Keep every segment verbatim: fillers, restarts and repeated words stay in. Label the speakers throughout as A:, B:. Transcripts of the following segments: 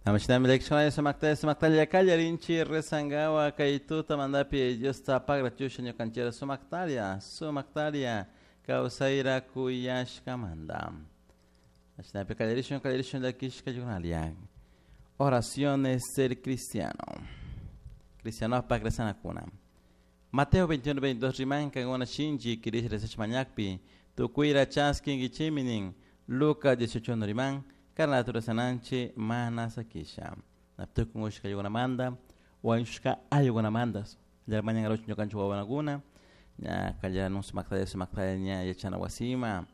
A: Namashinami leccionario sumaktalla sumaktalla kallarinchi rezangawa kay tutamandapi Diosta pagrachusha ñukanchira sumaktalla sumaktalla kawsayra kuyashkamanta. Ashinapi kallarishun kallarishun llakishka yunalya. Oraciones del cristiano. Cristiano pa rezanakuna. Mateo veintiuno veintidós rimanka ngona shinchi kirish rezach mañakpi tukuyra chaskin gichiminin Lucas dieciocho riman karnatu rezananchi mana sakisha. Naptukun ushka yugunamanda wañushka ayugunamandas. Llarmañan aruch ñukanchik wawanakuna ña kallarun sumaktalla sumaktalla ña yachana wasima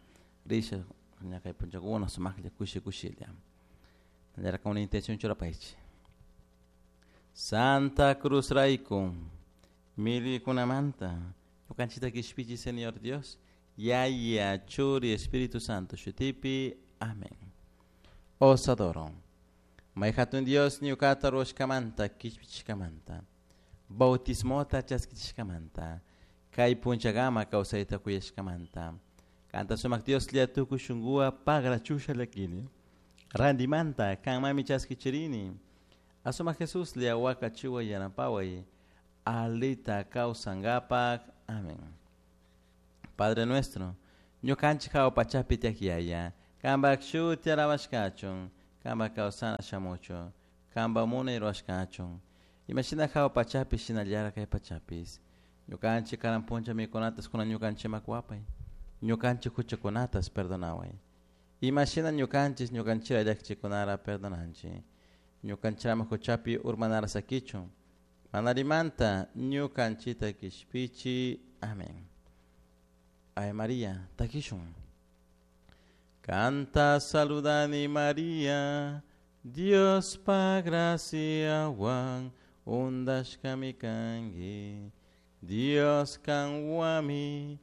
A: risha ña kay punchakuna sumaklla kushi kushilla. Llarka una intención churapaychi. Santa Cruz rayku milikunamanta ñukanchita kishpichi Señor Dios Yaya Churi Espíritu Santo shutipi. Amén. Os adoro. May hatun Dios ñukata ruwashkamanta kishpichishkamanta bautismota chaskichishkamanta kay punchagama kawsayta kuyashkamanta kanta sumak Dios llatuku shunguwa pagrachusha llakini randimanta kanmami chaskichirini asuma Jesús liawaka chiwa yanapaway alita kawsangapak. Amén. Padre nuestro, ñukanchik hawa pachapi tiyak yaya, kanpak shuti alabashkachun, kanpak kawsana shamuchun, kanpak munay ruwashkachun, imashina hawa pachapi shinallara kay pachapis. Ñukanchik karan puncha mikunatas kunan ñukanchikman wapay, ñukanchik huchakunatas perdonaway. Imashina ñukanchik ñukanchira llakichikunara perdonanchik. Ñukanchirama huchapi urmanara sakichun, manarimanta ñukanchita kishpichi. Amén. Ave María, takishun. Canta saludani María, Dios pa gracia wan undashkami kangi, Dios kanwami